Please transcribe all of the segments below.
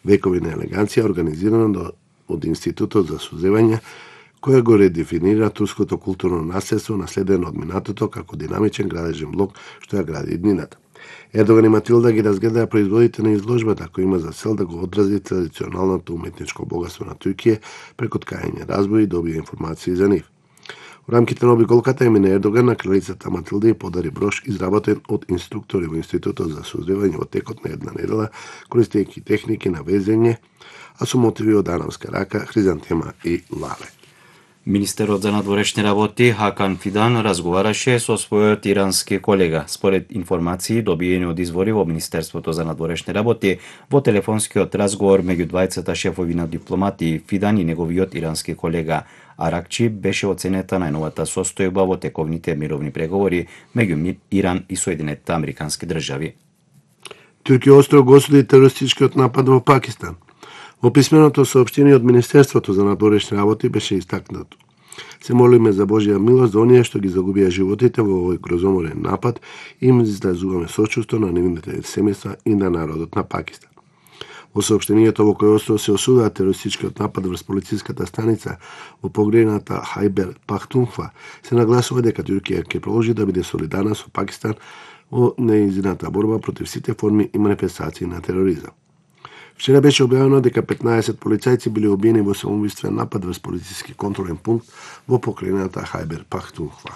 Векови на елеганција, организирано од Институтот за созревање, која го редефинира турското културно наследство, наследено од минатото како динамичен градежен блок што ја гради иднината. Ердоган и Матилда ги разгледаа производите на изложбата, која има за цел да го одрази традиционалното уметничко богатство на Туркија преку ткање разбои и добија информации за нив. Во рамките на обиколката Емине Ердоган на кралицата Матилда и подари брош изработен од инструктори во Институтот за созревање во текот на една недела, користејќи техники на везење, а со мотиви од анамска рака, хризантема и лале. Министерот за надворешни работи Хакан Фидан разговараше со својот ирански колега. Според информации добиени од извори во Министерството за надворешни работи, во телефонскиот разговор меѓу двајцата шефови на дипломати, Фидан и неговиот ирански колега Аракчи беше оценета најновата состојба во тековните мировни преговори меѓу Иран и Соединетите Американски држави. Туркија остро го осуди терористичкиот напад во Пакистан. Во писменото соопштение од Министерството за надворешни работи беше истакнато: се молиме за Божја милост за оние што ги загубија животите во овој грозоморен напад и им изразуваме сочувство на нивните семејства и на народот на Пакистан. Во соопштението во кој остро се осудува терористичкиот напад врз полициската станица во погрената Хајбер Пахтунхва, се нагласува дека Туркија ќе продолжи да биде солидарна со Пакистан во нејзината борба против сите форми и манифестации на тероризам. Вчера беше објавено дека 15 полицајци били убиени во самоубиствен напад врз полициски контролен пункт во покрајната Хајбер Пахтунхва.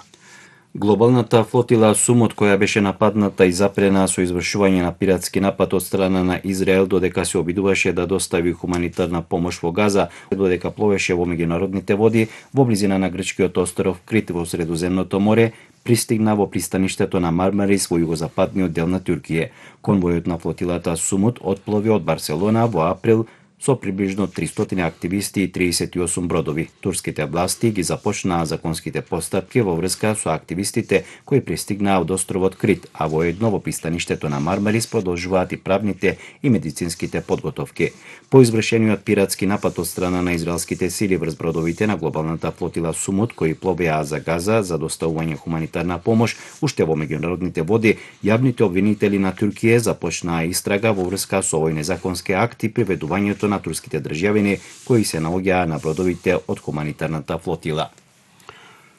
Глобалната флотила Сумот, која беше нападната и запрена со извршување на пиратски напад од страна на Израел додека се обидуваше да достави хуманитарна помош во Газа, додека пловеше во меѓународните води во близина на грчкиот остров Крит во Средоземното море, пристигна во пристаништето на Мармарис во југозападниот дел на Туркија. Конвојот на флотилата Сумот отплови од Барселона во април со приближно 300 активисти и 38 бродови. Турските власти ги започнаа законските постапки во врска со активистите кои пристигнаа од островот Крит, а воедно во пристаништето на Мармарис продолжуваат и правните и медицинските подготовки. По извршениот пиратски напад од страна на израелските сили врз бродовите на глобалната флотила Сумот кои пловеа за Газа за доставување хуманитарна помош уште во меѓународните води, јавните обвинители на Туркија започнаа истрага во врска со овој незаконски акт и приведувањето на турските државјани кои се наоѓаа на бродовите од хуманитарната флотила.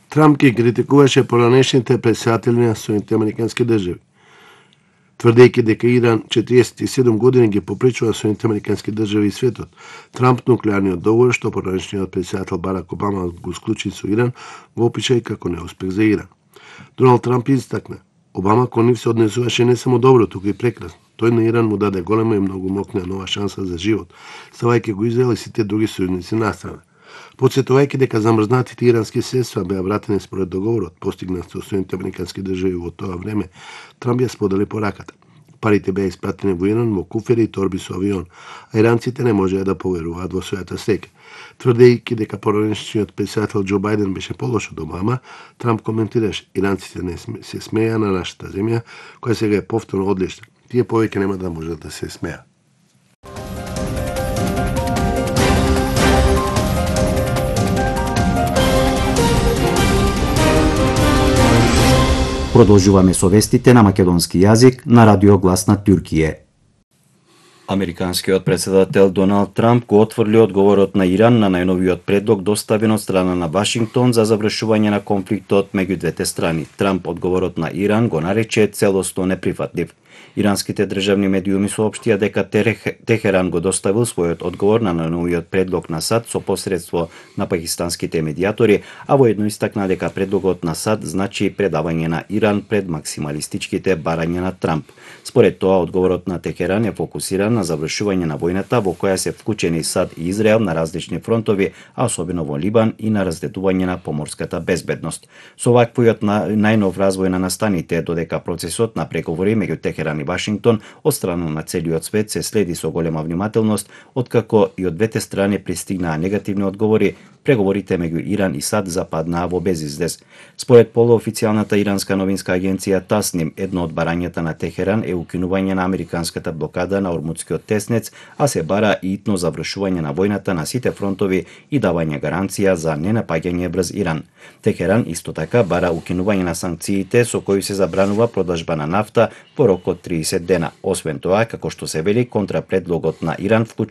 Трамп ги критикуваше поранешните претседатели на Соединетите Американски држави, тврдејќи дека Иран 47 години ги попречува Соединетите Американски држави и светот. Трамп нуклеарниот договор што поранешниот претседател Барак Обама го склучи со Иран го опиша и како неуспех за Иран. Доналд Трамп истакна: Обама кон нив се однесуваше не само добро, туку и прекрасно. Тој на Иран му даде голема и многу мокна нова шанса за живот, ставајќи го Израел и сите други сојузници настрана. Потсетувајќи дека замрзнатите ирански средства беа вратени според договорот постигнат со Соединетите Американски држави во тоа време, Трамп ја сподели пораката. Парите беа испратени во Иран во куфери и торби со авион, а иранците не можеа да поверуваат во својата среќа. Тврдејќи дека поранешниот претседател Џо Бајден беше полош од Обама, Трамп коментираше: иранците не се смеја на нашата земја, која сега е повторно одлична. Тие повеќе нема да можат да се смеат. Продолжуваме со вестите на македонски јазик на Радио Глас на Туркија. Американскиот претседател Доналд Трамп го отфрли одговорот на Иран на најновиот предлог доставен од страна на Вашингтон за завршување на конфликтот меѓу двете страни. Трамп одговорот на Иран го нарече целосно неприфатлив. Иранските државни медиуми соопштија дека Техеран го доставил својот одговор на најновиот предлог на САД со посредство на пакистанските медиатори, а воедно истакна дека предлогот на САД значи предавање на Иран пред максималистичките барања на Трамп. Според тоа, одговорот на Техеран е фокусиран на завршување на војната во која се вклучени САД и Израел на различни фронтови, а особено во Либан и на раздедување на поморската безбедност. Со ваквиот најнов развој на настаните, додека процесот на преговори меѓу Техеран и Вашингтон од страна на целиот свет се следи со голема внимателност, откако и од двете страни пристигнаа негативни одговори, преговорите меѓу Иран и САД западнаа во безизвест. Според полуофицијалната иранска новинска агенција Тасним, едно од барањата на Техеран е укинување на американската блокада на Ормудскиот теснец, а се бара и итно завршување на војната на сите фронтови и давање гаранција за ненапаѓање врз Иран. Техеран исто така бара укинување на санкциите со кои се забранува продажба на нафта по рок од 30 дена. Освен тоа, како што се вели, контрапредлогот на Иран вклучува